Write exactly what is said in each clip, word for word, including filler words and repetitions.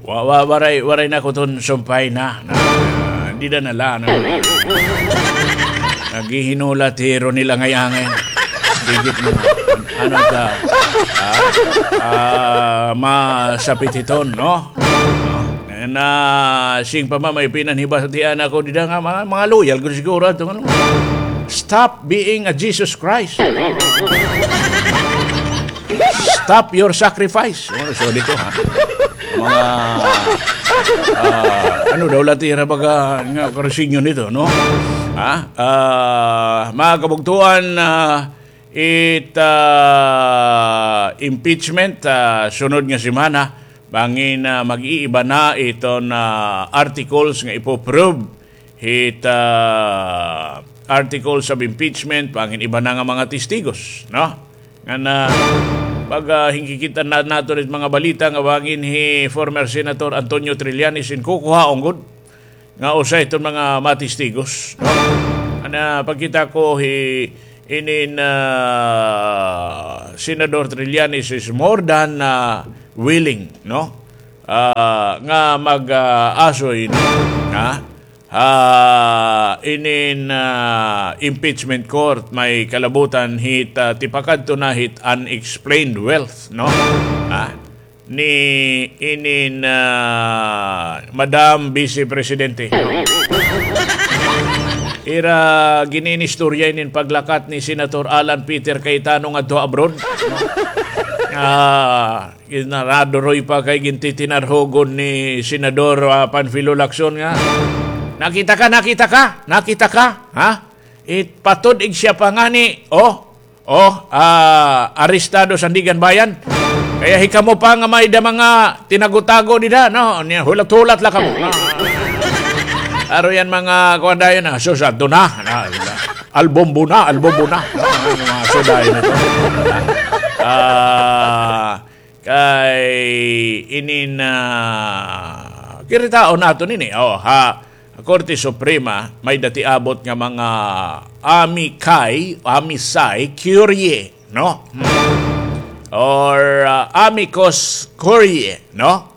Wa, wa, waray, waray na ko ton sumpay na. Na, dida na la, no? Naghihinulat hi Ronel Angay-angay. Digit mo. Ano ka? Ah, ah, masapit hiton, no? Na, sing pa man may pinanhibatian ako dida nga mga, mga loyal gud siguro ato, ano? Stop being a Jesus Christ. Stop your sacrifice. Oh, sorry ko, ha. Mga, ah, ano daw la it ira baga nga karusinyo nito, no? Ha? Ah, mga kabugtuan, ah, it, ah, impeachment, ah, sunod nga semana, bangin, ah, mag-iiba na iton, ah, articles nga ipo-prove hit, ah, articles of impeachment, bangin iba na nga mga testigos, no? Ngan, ah, pag, ah, hinkikita na naton it mga balita nga bangin hi former Senator Antonio Trillanes in kukuhaon gud nga usa iton mga matistigos, no? Ana, pagkita ko hi inin, ah, Senador Trillanes is more than, ah, willing, no? Ah, nga mag, ah, asoy, no? Ha? Ah, inin, ah, impeachment court may kalabutan hit, ah, tipakadto na hit unexplained wealth, no? Ha? Ni inin, ah, Madam Vice Presidente. Ira gin-iinistorya inin paglakat ni Senator Alan Peter Cayetano ngadto abroad. Ah, Ginaraduroy pa kay gintitinarhugon ni Senador, ah, Panfilo Lacson nga, "Nakita ka, nakita ka, nakita ka, ha? It patod ig siya pa ngani, oh, oh, ah, arestado Sandiganbayan. Kaya hikamo pa nga may-ada mga tinago-tago dida, no? Niya, hulat-hulat la kamo." Aro yan mga kuwan dayon, ah, sus, adto na, na, na. Albombo na, albombo na. Mga suday nito. Ah, Kay inin, ah, kiritaon naton ini, oh, ha Korte Suprema, may-ada ti abot nga mga amicus, amicus curiae, no? Hmm. Or, ah, amicus curiae, no?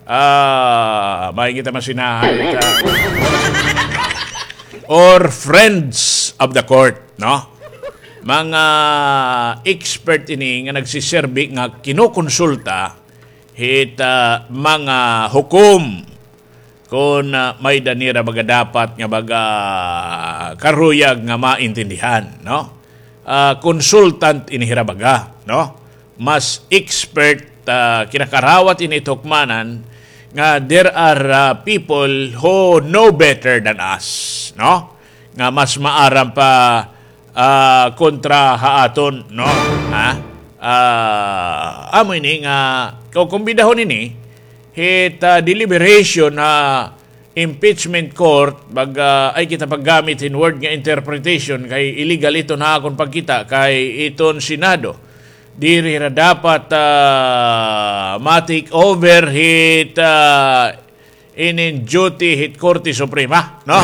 Ah, may kita masinahan, ah, or friends of the court, no? Mga expert ini nga nagsiserbi nga kinukonsulta hit, ah, mga hukom kon, ah, may-ada nira baga dapat nga baga karuyag nga maintindihan, no? Ah, consultant ini hira baga, no? Mas expert, ah, kinakarawat ini hukmanan nga there are, ah, people who know better than us, no? Nga mas maaram pa, ah, kontra ha aton, no? Ha? Ah, amo ini nga kukumbidahon ini hit, ah, deliberation ha impeachment court, mag, ah, ay kita paggamit hin word nga interpretation kay illegal iton ha akon pagkita kay iton Senado diri hira dapat, ah, ma-take over hit, ah, inin duty hit Korte Suprema, no?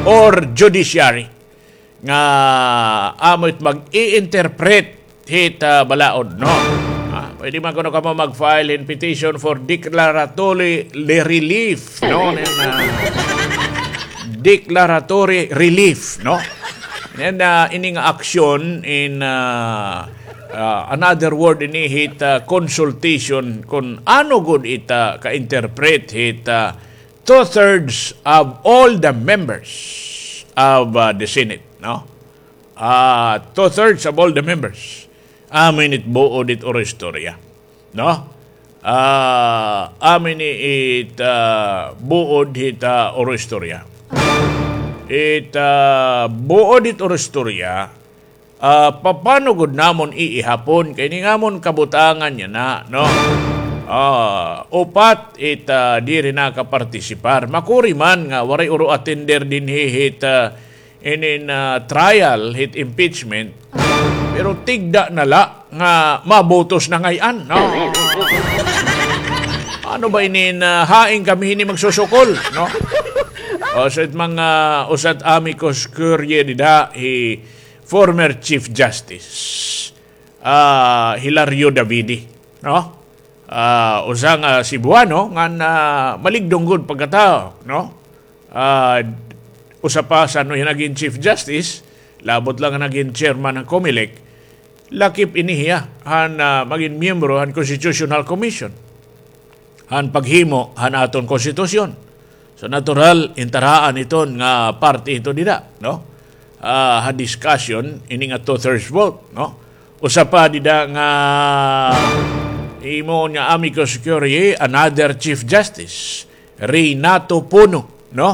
Or judiciary. Nga amo it mag-i-interpret hit, ah, balaod, no? Ah, pwede man kuno kamo mag-file hin petition for declaratory relief, no? Nin, ah, declaratory relief, no? And, ah, ini nga aksyon in, ah, ah, another word ini hit, ah, consultation kon ano gud it, ah, ka-interpret hit, ah, two-thirds of all the members of, ah, the Senate, no? Ah, two-thirds of all the members. Amo ini it buod hit oro istorya, no? Ah, amo ini it, ah, buod hit, ah, oro istorya. It, ah, buod hit oro istorya, ah, papano gud namon iihapon kay ini nga amon kabutangan yana, no? Ah, upat it, ah, diri nakapartisipar. Makuri man nga waray oro attender dinhi hit, ah, inin, ah, trial hit impeachment. Pero tigda na la nga mabutos na ngay-an, no? Ano ba inin, ah, hain kami hini magsusukol, no? O, sa mga usa it amicus curiae dida, hi former Chief Justice, ah, Hilario Davide, no? ah, usa nga Cebuano ngan, ah, maligdong gud pagkatawo, no? Ah, usa pa san-o hiya nagin Chief Justice, labot la nga nagin chairman han Comelec, lakip ini hiya han, ah, magin miyembro han Constitutional Commission han paghimo han aton konstitusyon. So, natural, intaraan iton nga parte ito dida, no? Ah, ha discussion, ini nga two-thirds vote, no? Usa pa dida nga himuon nga amicus curiae, another Chief Justice, Renato Puno, no?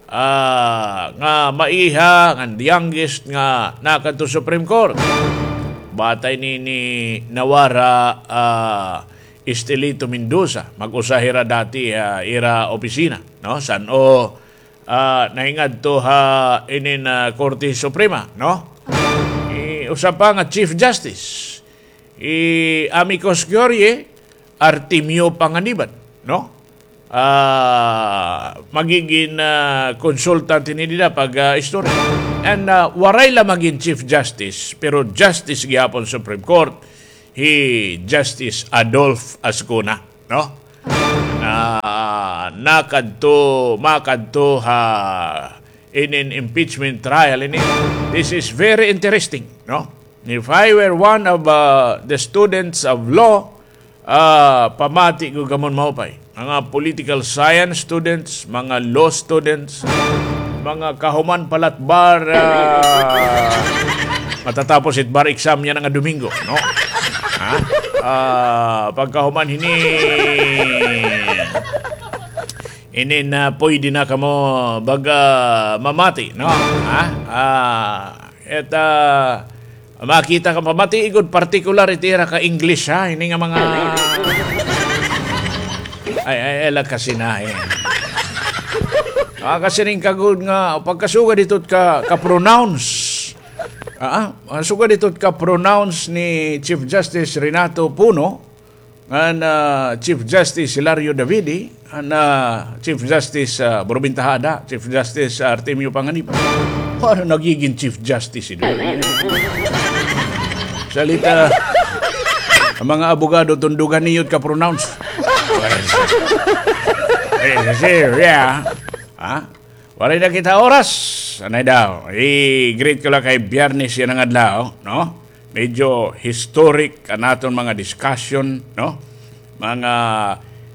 Ah, nga maiha, nga the youngest nga nakadto Supreme Court. Bata ini ni Nawara, ah, Estelito Mendoza, mag-usa hira dati, ah, ira opisina, no? San-o, ah, nahingadto ha inin, ah, Korte Suprema, no? Eh, usa pa nga Chief Justice, eh, amicus curiae, Artemio Panganiban, no? Ah, magigin, ah, consultant ini dida pag, ah, istorya. And, ah, waray la magin Chief Justice, pero Justice gihapon Supreme Court, hi Justice Adolf Azcuna, no? Na nakadto, makadto ha inin impeachment trial ini. This is very interesting, no? If I were one of, uh, the students of law, ah, pamati ko kamo maupay. Mga political science students, mga law students, mga kahuman palatbar, ah, matatapos it bar exam yana nga Domingo, no? Ha? Ah, pagkahuman hini, inin, ah, pwede na kamo baga mamati, no? Ha? Ah, et, ah, makita ka pamati gud, partikular it ira ka English, ha? Ini nga mga, ay, ay, ay, la kasi na, eh. Ah, kasi rin ka gud nga, pagkasugad ito ka, ka pronounce. Ah, ah, sugad ito ka pronounce ni Chief Justice Renato Puno, ngan, ah, Chief Justice Hilario Davide, ngan, ah, Chief Justice, ah, Robin Tejada, Chief Justice Artemio Panganiban. Paano nagiging Chief Justice ito? Salita, an mga abogado, tundugan niyo ka pronounce. Eh, kasi, yeah. Ha? Waray na kita oras. Anay daw. I-greet ko la kay Biyernes yana nga adlaw, no? Medyo historic an aton mga discussion, no? Mga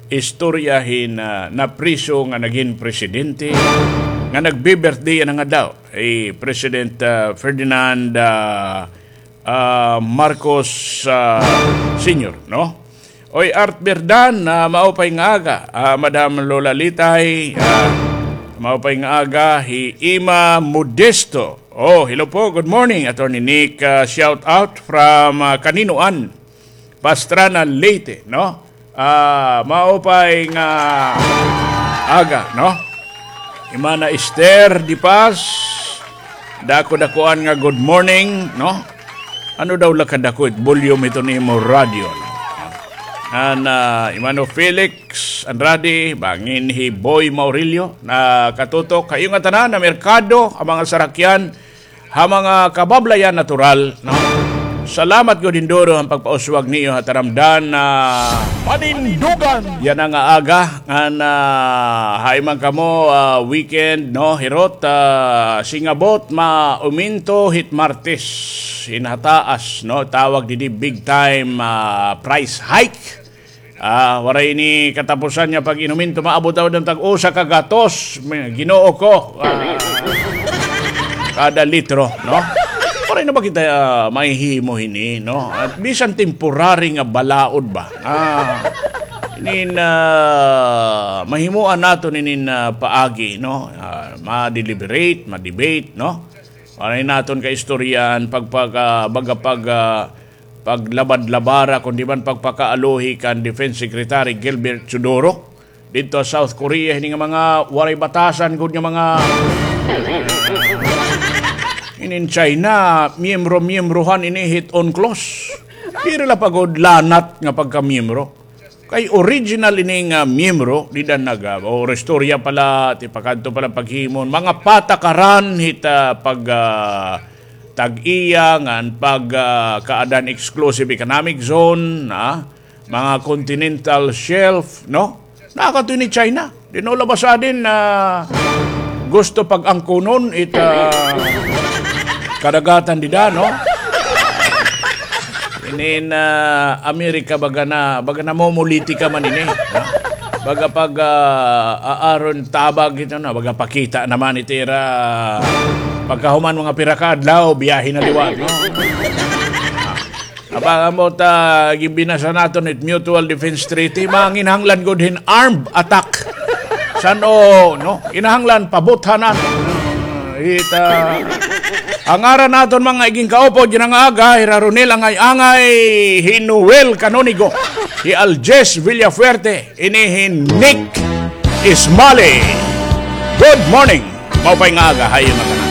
istorya hin, ah, napriso nga nagin presidente, nga nagbi-birthday yana nga adlaw. Hi President, ah, Ferdinand, ah, ah, Marcos, ah, Senior, no? Oy, Art Berdan, ah, maupay nga aga. Ah, Madam Lola Litay, ah, maupay nga aga. Hi Ima Modesto. Oh, hello po, good morning, Attorney Nick. Ah, shout out from, ah, Kaninoan, Pastrana, Leyte, no? Ah, maupay nga aga, no? Imana Esther Di Paz, dako-dakuan nga good morning, no? Ano daw la kadako it volume ito ni imo radyo, no? An, ah, Imano Felix Andrade, bangin hi Boy Maurilio, nakatutok. Kayo nga tanan, ha merkado, ha mga sarakyan, ha mga kabablayan natural, no? Salamat gud hin duro han pagpauswag niyo ha taramdan na panindugan yana nga aga, ngan, ah, hain man kamo, ah, weekend, no, hirot, ah, singabot mauminto hit Martes hin hataas, no, tawag didi big time, ah, price hike. Ah, waray ini katapusan nga pag-inuminto, maabot daw hin tag-usa ka gatos, may Ginoo ko. Ah, kada litro, no? Waray na ba kita, ah, mahihimo hini, no? At bisan temporary nga balaod ba? Ah, inin, ah, mahimuan naton inin, ah, paagi, no? Ah, ma-deliberate, ma-debate, no? Waray naton kaistoryahan, pagpag-, ah, baga pag-, ah, paglabad-labara, kundi man pagpakaaluhi kan Defense Secretary Gilbert Teodoro didto ha South Korea, hini nga mga waray batasan gud nga mga, inin China, miyembro-miyembrohan ini hit UNCLOS. Diri la pa gud lanat nga pagkamiyembro. Kay original ini nga miyembro, dida nag-, ah, o, istorya pala, ti pakadto pala paghimo, mga patakaran hit, ah, pag, ah, tag-iya ngan pag, ah, kaadan exclusive economic zone, ah, mga continental shelf, no? Nakadto ini China. Di na la ba sa din na gusto pag-angkunon ita kadagatan dida, no? Ini na Amerika baga na, baga na momolitika man ini, no? Baga pag, ah, aaron tabag ito na, baga pakita naman itira. Pagkahuman mga pira ka adlaw, biyahe na liwat, no? Aba, amo ta, ginbinasa naton it Mutual Defense Treaty, manginahanglan gud hin armed attack. San-o, no? Kinahanglan pabuthanan. Ita. An ngaran naton mga iging kaupod yana nga aga, hi Ronel Angay-angay, hi Noel Canonigo, hi Aljes Villafuerte, ini hi Nick Ismali. Good morning. Maupay nga aga ha iyo ngatanan.